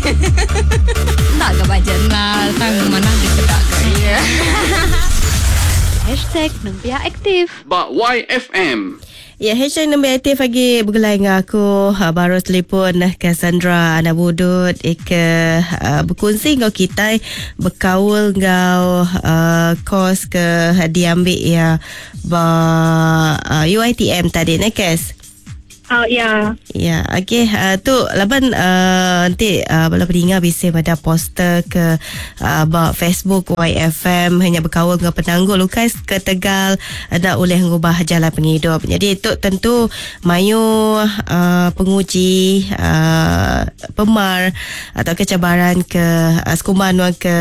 Enda ga ba jurnal tang manah dipeda ga iya. Hashtag Nembiak Aktif. Ba YFM. Ya, hashtag Nembiak Aktif agi begulai enggau aku baru telefon Cassandra anak Budut ke bekunsi enggau kitai bekaul enggau kos ke diambi iya ba UiTM tadi neh Cass. Oh ya. Ya, okey uh, tu laban uh, enti uh, bala peninga bisi meda poster ke uh, ba Facebook YFM hanya bekaul enggau penanggul ukai ketegal enda ulih ngubah jalai pengidup. Jadi tu tentu mayuh uh, penguji uh, pemar atau ke cabaran ke uh, sekumban nuan ke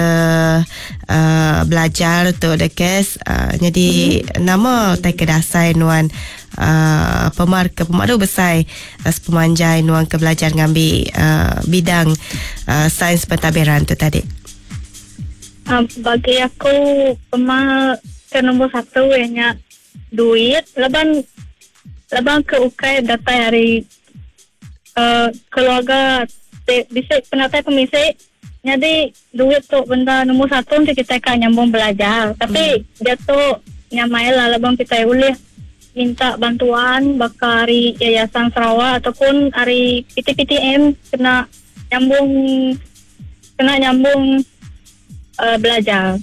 uh, belajar tu the case uh, jadi mm-hmm. nama tai ke dasai nuan uh, pemar ke pemadu besai uh, sepemanjai nuan ke belajar ngambi uh, bidang uh, sains pentadbiran tu tadi? Uh, bagi aku pemar ke nombor satu ianya duit laban laban ke ukai datai ari uh, keluarga ti bisi penatai pemisi nyadi duit tu benda nombor satu enti kitai ka nyambung belajar tapi mm. diatu nyamai lah laban kitai ulih minta bantuan baka ari Yayasan Sarawak ataupun ari PTPTM kena nyambung kena nyambung uh, belajar.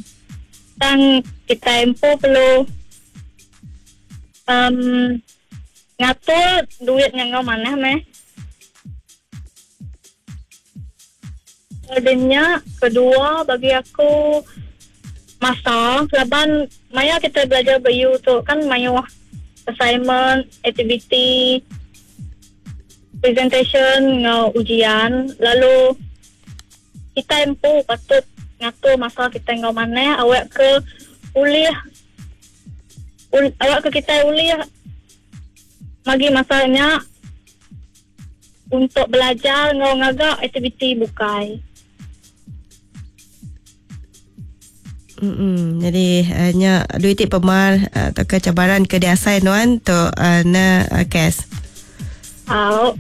Tang kitai empu perlu um, ngatur duit nya enggau manah meh. Udah nya kedua bagi aku masa laban maya kitai belajar ba U tu kan mayuh assignment, aktiviti, presentation enggau ujian lalu kitai empu patut ngatur masa kitai enggau manah awak ke ulih awak ke kitai ulih magi masa nya untuk belajar enggau ngaga aktiviti bukai. Mm-mm. Jadi uh, nya duit ti pemar uh, tauka cabaran ke diasai nuan tu uh, na uh, Kes. Au.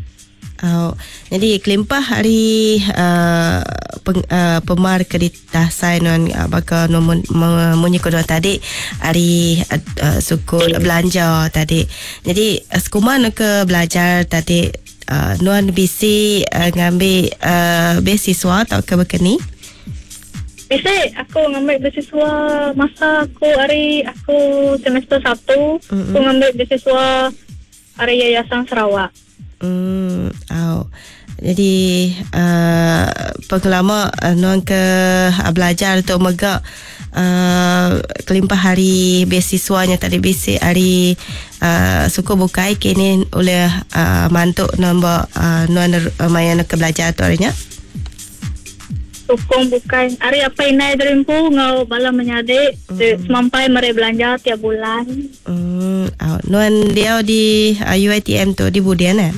Au. Jadi kelimpah ari uh, peng, uh, pemar ke ditasai nuan uh, baka nuan munyi ko nuan tadi ari uh, uh, suku belanja tadi. Jadi uh, sekuman ke belajar tadi uh, nuan bisi uh, ngambi uh, beasiswa tauka bekeni? Bisi aku ngambi beasiswa masa aku ari aku semester satu mm-hmm. aku ngambi beasiswa ari Yayasan Sarawak. Hmm, au. Jadi uh, pengelama uh, nuan ke uh, belajar tu mega uh, kelimpah hari beasiswanya tadi bisi hari uh, suku bukai kini oleh uh, mantuk nuan ba uh, nuan uh, maya ke belajar tu harinya. Sukung bukai ari apai indai diri empu enggau bala menyadi ti semampai meri belanja tiap bulan. Mm, au. Nuan diau di uh, UiTM tu di Budian eh?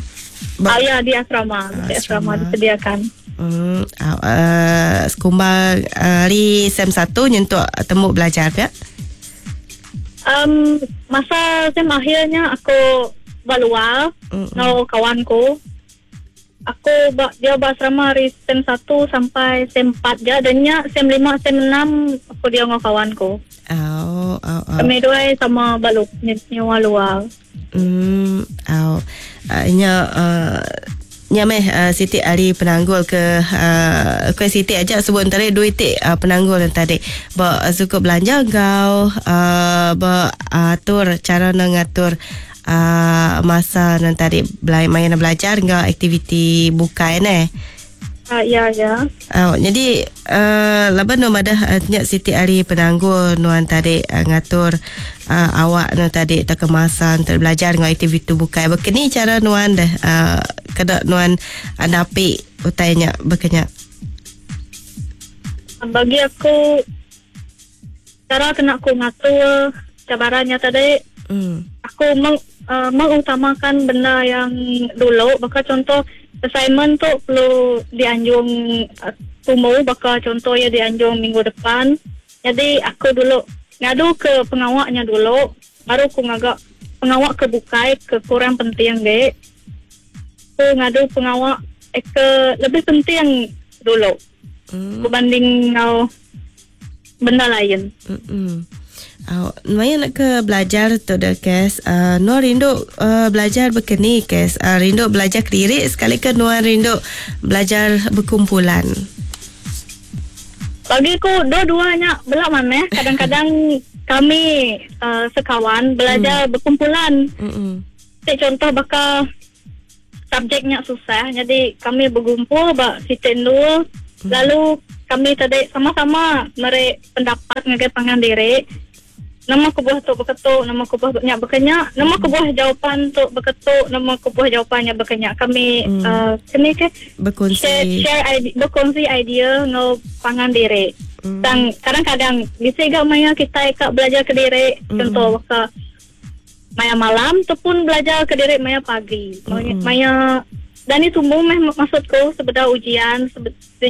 Ba- ah, ya, di asrama. Di asrama, asrama disediakan. Mm, au, uh, sekumbang uh, hari sem 1 nyentuk temu belajar ya? Um, masa sem akhirnya aku ba luar mm-hmm. enggau kawanku. Aku ba diau ba asrama ari sem satu sampai sem empat ja dan nya sem lima sem enam aku diau enggau kawan ku. Au au au. Kami duai sama ba lu nyewa luar. Hmm au. Uh, nya uh, nya meh uh, siti ari penanggul ke uh, ke siti aja sebut entara dua iti uh, penanggul yang tadi ba uh, suku belanja enggau uh, ba atur cara nak ngatur uh, masa nan tadi belai maya nak belajar enggau aktiviti bukai neh. Uh, ya ya. Uh, jadi uh, laban nu madah uh, nya siti ari penanggul nuan tadi uh, ngatur uh, awak nu tadi atau ke masa untuk belajar enggau aktiviti bukai. Bekeni cara nuan deh uh, kena nuan uh, napi utai nya bekenya. Bagi aku Chara kena aku ngatur cabaran nya tadi, mm. aku meng, uh, mengutamakan benda yang dulu baka contoh assignment tu perlu dianjung uh, tumu baka contoh ya dianjung minggu depan. Jadi aku dulu ngadu ke pengawa nya dulu baru aku ngaga pengawa ke bukai ke kurang penting ge. Aku ngadu pengawa eh, ke lebih penting. dulu berbanding enggau benda lain. Au, maya nak ke belajar tu dah Kes, nuan rindu belajar bekeni Kes? Rindu belajar kediri sekali ke nuan rindu belajar berkumpulan? Bagi ku dua-dua nya bela manah kadang-kadang kami sekawan belajar berkumpulan. Ti contoh baka subjek nya susah jadi kami begumpul ba siti endur lalu kami tadi sama-sama meri pendapat ngagai pangan diri. Nama kebuah tu baka tu, nama kebuah nya baka nya, nama kebuah jawapan tu baka tu, nama kebuah jawapan nya baka nya. Kami keni ke Bekunsi. share, share idea, bekunsi idea enggau pangan diri. Tang kadang-kadang bisi ga maya kitai ka belajar kediri, contoh baka maya malam ataupun belajar kediri maya pagi. Maya, maya dan ni tumu meh maksudku sebedau ujian.